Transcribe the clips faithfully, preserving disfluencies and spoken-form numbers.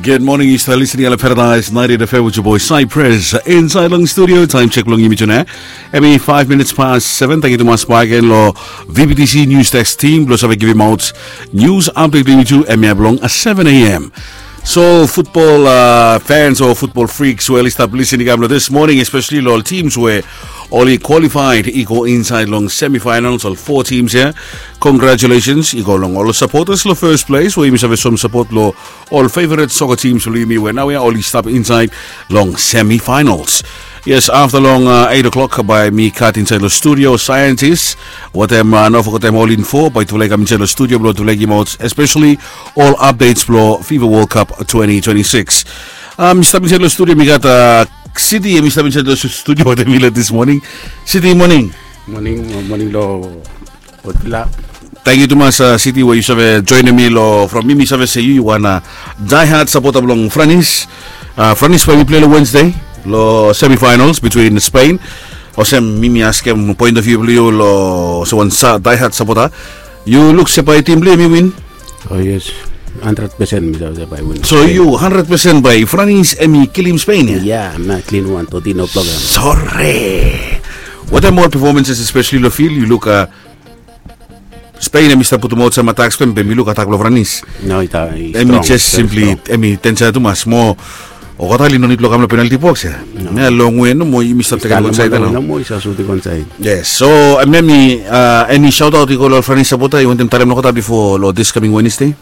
Good morning, yu stap listening long Paradise ninety-eight F M with your boy Cypress. Inside long studio, time check long yumi tune. Hemi five minutes past seven. Thank you tumas back again lo V B T C News Desk team blo save givim out news update long yumi tu, hemia blong seven a.m. So football uh, fans o football freaks we oli stap listening kam lo this morning, especially lo ol teams we oli qualified i go inside long semifinals, ol four teams ia. Congratulations i go long ol supporters lo first place we yumi save som support lo ol favorite soccer teams blo yumi we naoia oli stap inside long semifinals. Yes, afta long uh, eight o'clock bae mi gat inside lo studio scientist wetem uh, no fogetem ol info bae tufala i kam inside lo studio blo tufala i givim out especially ol updates blo FIFA World Cup twenty twenty-six. Uh, mi stap inside lo studio mi gat uh, City, mi stap inside lo studio wetem mi lo this morning. City, morning. Morning, morning lo Otila. Thank you tumas uh, City we yu save joinim mi lo from mi mi save se yu yu wan uh, diehard supporter blong Franis. Uh, Franis bae mi play lo Wednesday lo semifinals between Spain. Olsem mi mi askem point of view blo yu lo se wan sa diehard supporter. Yu luk se bae tim blo yu mi win. Oh yes, hundred percent mi save se bae win. So yu hundred percent bae Franis hemi kilim Spain ia? Yeah, na klin wan toti no problem. Sorry. Wetem ol performances especially lo field yu luk uh, Spain hemi stap putum aut sam atak, Spain be mi luk atak blo Franis. No, i ta- i hemi strong, just very simply strong. Hemi tensa tumas mo. Olgeta oli no nid blo kam lo penalty box ia. No. Ia long we nomo yumi stap tekem wan saed ia nao. Nomo i sa sutim wan saed. Yes, so hemia mi uh, eni shout out i go lo ol Franis supporter yu wantem talem olgeta bifo lo this coming Wednesday?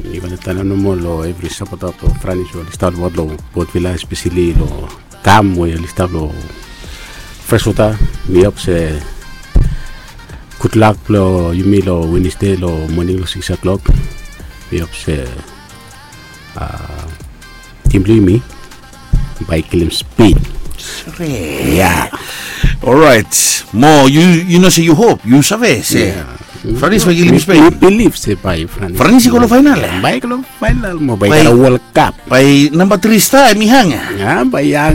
Mi wantem talem nomo lo evri supporter blo Franis we oli stap lo Port Vila, especially lo kam we oli stap lo Freshwater. Mi hop se gudlak blo yumi lo Wednesday lo moning lo six o'clock. Mi hop se uh, tim blo yumi bae kilim Spain. Ia. Orait. Mo yu yu no se yu hop, yu save se Franis bae kilim Spain. Mi bilif se bae Franis. Franis i go lo final ia? Bae i go lo final mo bae i gat World Cup. Bae namba tri star hemi hang ia? Ia, bae i hang.